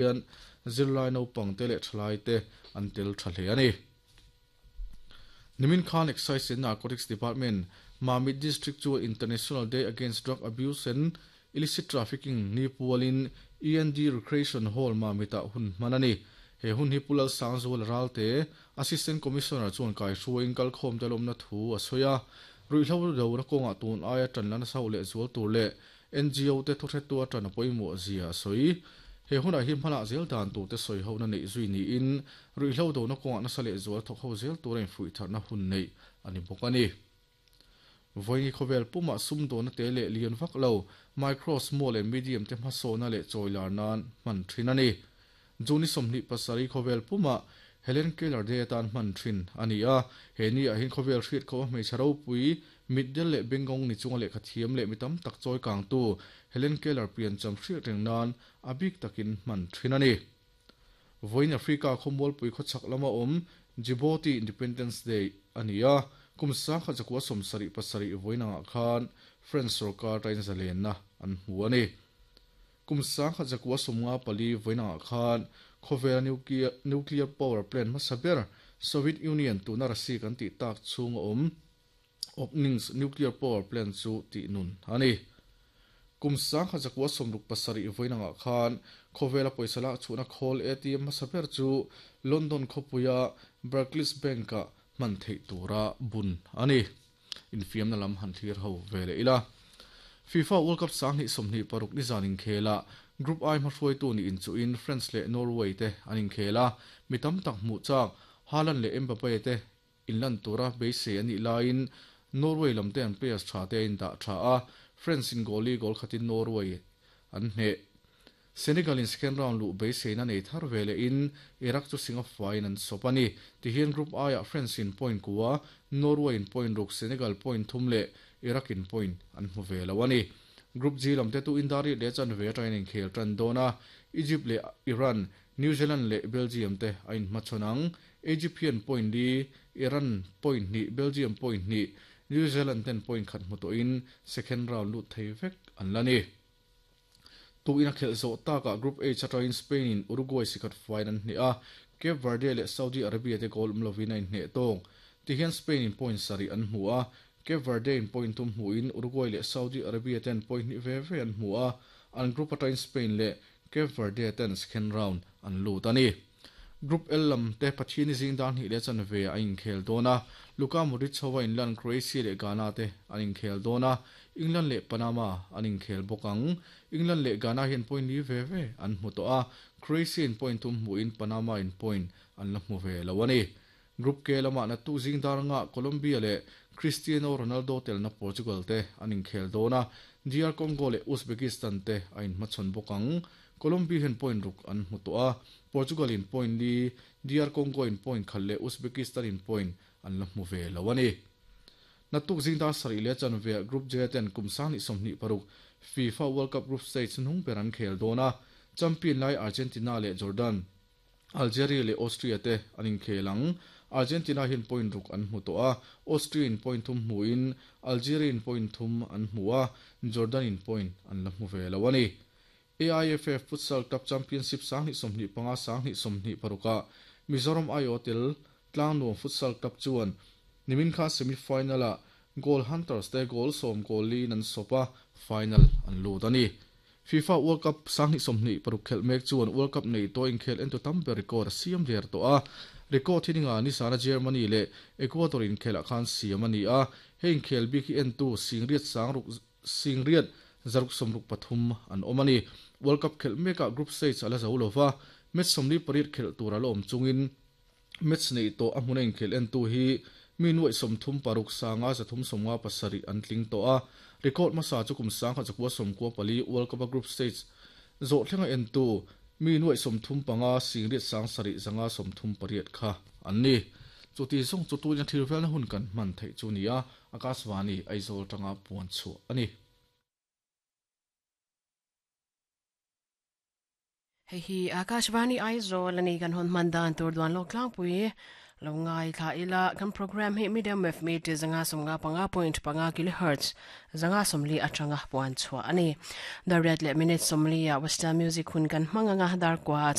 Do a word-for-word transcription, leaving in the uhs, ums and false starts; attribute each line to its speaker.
Speaker 1: Hian zirlai naupang te leh thalai te an tel tha hle ani. Nimin khan Excise and Narcotics Department Mamit District chu International Day Against Drug Abuse and Illicit Trafficking ni pualin E and D Recreation Hall Mamit-ah hun hman a ni. He hun hi Pu Lalsangzuala Ralte, Assistant Commissioner chuan kaihruaiin kalkhawm te lawmna thu a sawi a. Ruihhlo dona kawngah tun aia tan la nasa leh zual tur leh N G O te thuhretu atan a pawimawh zia a sawi. He hunah hi hmanah zel dan tur te sawi hona neih zui niin ruihhlo dona kawngah nasa leh zual thawk ho zel tura infuih tharna hun neih a ni bawk a ni. Vawiin khawvel pumah sum dawhna te leh lian vak lo, micro, small and medium te hmasawhna leh chawilar nan hman thin a ni. June sawmhnih pasarih khawvel pumah Helen Keller Day atan hman thin a ni a. He ni ah hian khawvel hriat khawpa hmeichhe ropui, mitdel leh bengawng ni chunga lehkha thiam leh mi tam tak chawi kangtu Helen Keller piancham hriat reng nan a bik takin hman thin a ni. Vawiin Africa khawmualpui khawchhak lama awm Djibouti Independence Day a ni a. Kum sangkhat zakua sawmsarih pasarih vawiin angah khan French sorkar tain zalenna an hmu a ni. Kum sangkhat zakua sawmnga pali vawiin angah khan khawvela nuclear, nuclear power plant hmasa ber Soviet Union tuna Russia kan tih tak chhung a awm Obninsk nuclear power plant chu tih nun a ni. Kum sangkhat zakua sawmruk pasarih vawiin angah khan khawvela pawisa lak chhuahna khawl A T M hmasa ber chu London khawpuia Barclays Bank-ah hman theih tura bun a ni. Infiamna lam han thlir ho ve leh ila. FIFA World Cup sanghnih sawmhnih paruk ni zan inkhela Group I hmahruaitu ni inchuhin France leh Norway te an inkhel a, mi tam tak hmuh chak Haaland leh Mbappe te inlan tura beisei a nih laiin Norway lam te an players tha te a indah tha a, France in goal li goal khatin Norway an hneh. Senegal in second round luh beiseina nei thar ve lehin Iraq chu Singapore-in an sawp a ni. Tihian Group I-ah France in point kua, Norway in point ruk, Senegal point thum leh Iraq in point an hmu ve lo a ni. Group G lam te tu Indariat leh chanve atangin inkhel tan dawn a, Egypt leh Iran, New Zealand leh Belgium te a inhmachhawn ang. Egypt hian point li, Iran point hnih, Belgium point hnih, New Zealand ten point khat hmu tawhin second round lut thei vek an la ni. Tu in a khelh zawh takah Group H atangin Spain in Uruguay sikhat faiin an hneh a, Cape Verde leh Saudi Arabia te goal awm lovin a inhneh tawk. Tihian Spain in point sarih an hmu a, Cape Verde in point thum hmuhin Uruguay leh Saudi Arabia ten point hnih ve ve an hmu a, an group atangin Spain leh Cape Verde ten second round an lut a ni. Group L lam te Pathian zing dar hnih leh chanve a inkhel dawn a, Luka Modric hova inlan Croatia leh Ghana te an inkhel dawn a, England leh Panama an inkhel bawk ang. England leh Ghana hian point li ve ve an hmu tawh a, Croatia in point thum hmuhin Panama in point an la hmu ve lo a ni. Group K lamah naktuk zing dar anga Colombia leh Cristiano Ronaldo telna Portugal te an inkhel dawn a, D R Congo leh Uzbekistan te a inhmachhawn bawk ang. Colombia hian point ruk an hmu tawh a, Portugal in point li, D R Congo in point khat leh Uzbekistan in point an la hmu ve lo a ni. Naktuk zing dar sarih leh chanve Group J ten kum sanghnih sawmhnih paruk FIFA World Cup Group Stage hnung ber an khel dawn a, champion lai Argentina leh Jordan, Algeria leh Austria te an inkhel ang. Argentina hian point ruk an hmu tawh a, Austria in point thum hmuin Algeria in point thum an hmu a, Jordan in point an la hmu ve lo a ni. A I F F Futsal Club Championship sanghnih sawmhnih panga sanghnih sawmhnih parukah Mizoram I O tel Tlangnuam Futsal Club chuan nimin kha semi-final-ah Goal Hunters te goal sawm goal liin an sawp a, final an lut a ni. FIFA World Cup sanghnih sawmhnih paruk khelh mek chuan World Cup nei tawh inkhel entu tam ber record a siam der tawh a. Record hi ninga nisana Germany leh Ecuador inkhelah khan siam a ni a, hei inkhel bik hi entu singriat sangruk singriat zaruk sawmruk pathum an awm a ni. World Cup khelh mekah group stage a la zo lova, match sawmli pariat khelh tur a la awm chungin match nei tawh a hmuna inkhel entu hi mi nuaih sawmthum paruk sanga zathum sawmnga pasarih an tling tawh a. Record hmasa chu kum sangkhat zakua sawmkua pali World Cup a group stage zawh thlenga entu mi nuaih sawmthum panga singriat sang sarih zanga sawmthum pariat kha an ni. Chuti zawng chu tuina thil velna hun kan hman theih chu ni a, Akashvani Aizawl tanga puan chhuah a ni.
Speaker 2: Hei hi Akashvani Aizawl a ni kan hawn hman dan tur duan lawk tlangpui. Lo ngai tha ila kan program hi medium wave meter zanga somnga panga point panga kilohertz zanga somli atanga puan chua ani. Dar riat le minute somli a Western music hun kan hmanga nga dar kwa.